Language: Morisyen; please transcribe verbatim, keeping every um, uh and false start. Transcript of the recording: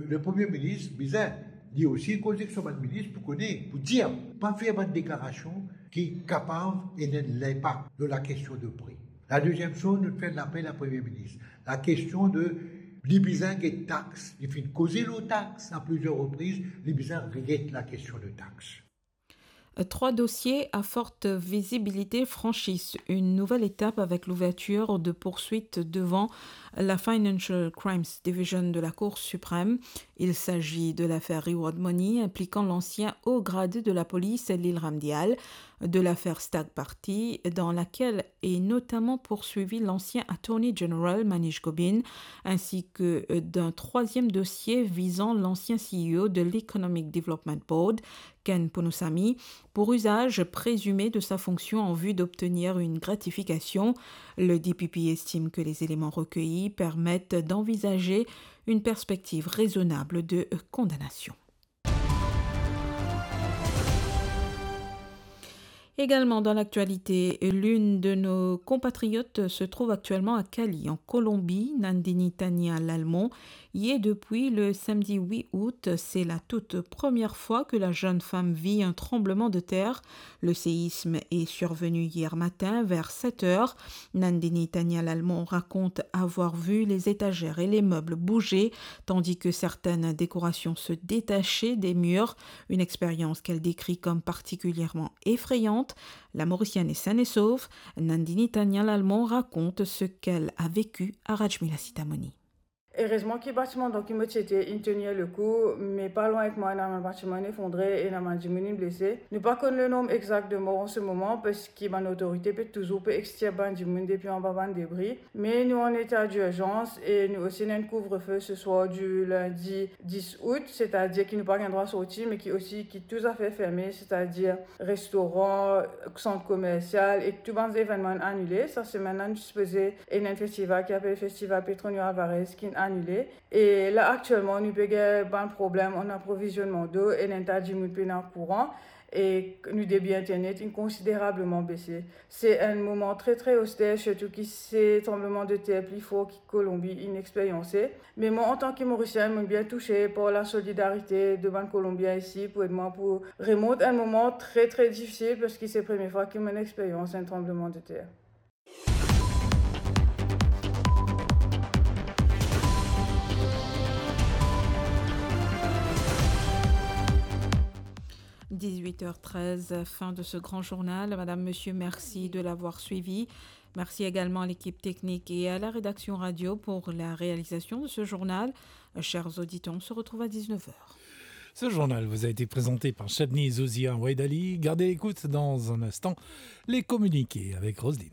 Le Premie Minis bizin li osi koz ek so bann minis pou kone, pou dir, pa fer bann deklarasion ki kapav ena enn linpak lor lakestion de pri. Ladeziem soz, nou fer lapel a Premie Minis. Lakestion de, li bizin get tax, li finn koze lor tax a plizier repriz, li bizin reget lakestion de tax. Trois dossiers à forte visibilité franchissent une nouvelle étape avec l'ouverture de poursuites devant la Financial Crimes Division de la Cour suprême. Il s'agit de l'affaire Reward Money impliquant l'ancien haut gradé de la police, Lilram Dyal, de l'affaire Stag Party, dans laquelle est notamment poursuivi l'ancien Attorney General Manish Gobin, ainsi que d'un troisième dossier visant l'ancien C E O de l'Economic Development Board, Ken Poonusamy, pour usage présumé de sa fonction en vue d'obtenir une gratification. Le D P P estime que les éléments recueillis permettent d'envisager une perspective raisonnable de condamnation. Également dans l'actualité, l'une de nos compatriotes se trouve actuellement à Cali, en Colombie. Nandini Tania Lalmon y est depuis le samedi huit août. C'est la toute première fois que la jeune femme vit un tremblement de terre. Le séisme est survenu hier matin vers sept heures. Nandini Tania Lalmon raconte avoir vu les étagères et les meubles bouger, tandis que certaines décorations se détachaient des murs. Une expérience qu'elle décrit comme particulièrement effrayante. La Mauricienne est saine et sauve. Nandini Tania Lalmon raconte ce qu'elle a vécu à Rajmila Sitamoni. Erezman ki batiman dan ki mo ti ete inn tenir le kou, me pa lwin ek mwa ena bann batiman inn efondre e ena bann dimoun inn blese. Nou pa konn le nonb exakt de mor an se moman, parski bann otorite pe touzour pe extir bann dimoun depi anba bann debri. Me nou an eta dirzans e nou osi ena enn kouvrefe se swar di lindi dis août, setadir ki nou pa gagn drwa sorti, me ki osi ki tou zafer ferme, setadir restoran, sant komersial e tou bann evennman inn anile. Sa semenn la nou ti sipoze ena enn festival ki apel Festival Petronio Alvarez ki inn anile. E la aktielman nou pe gagn bann problem an aprovizionman dlo e enn ta dimoun pena kouran. E nou debit internet inn konsiderableman bese. Se enn moman tre, tre oster, sirtou ki se tranbleman de ter pli for ki Kolonbi inn experyanse. Me mwa, antan ki Morisien, mo'nn bien touse par la solidarite de bann Kolonbien isi pou ed mwa pou remont enn moman tre, tre difisil, parski se premie fwa ki mo'nn experyans enn tranbleman de ter. Dix-huit heures treize, fin de ce grand journal. Madame, monsieur, merci de l'avoir suivi. Merci également à l'équipe technique et à la rédaction radio pour la réalisation de ce journal. Chers auditeurs, on se retrouve à dix-neuf heures. Ce journal vous a été présenté par Chabni Zouzia Waidali. Gardez l'écoute dans un instant, les communiqués avec Roselyne.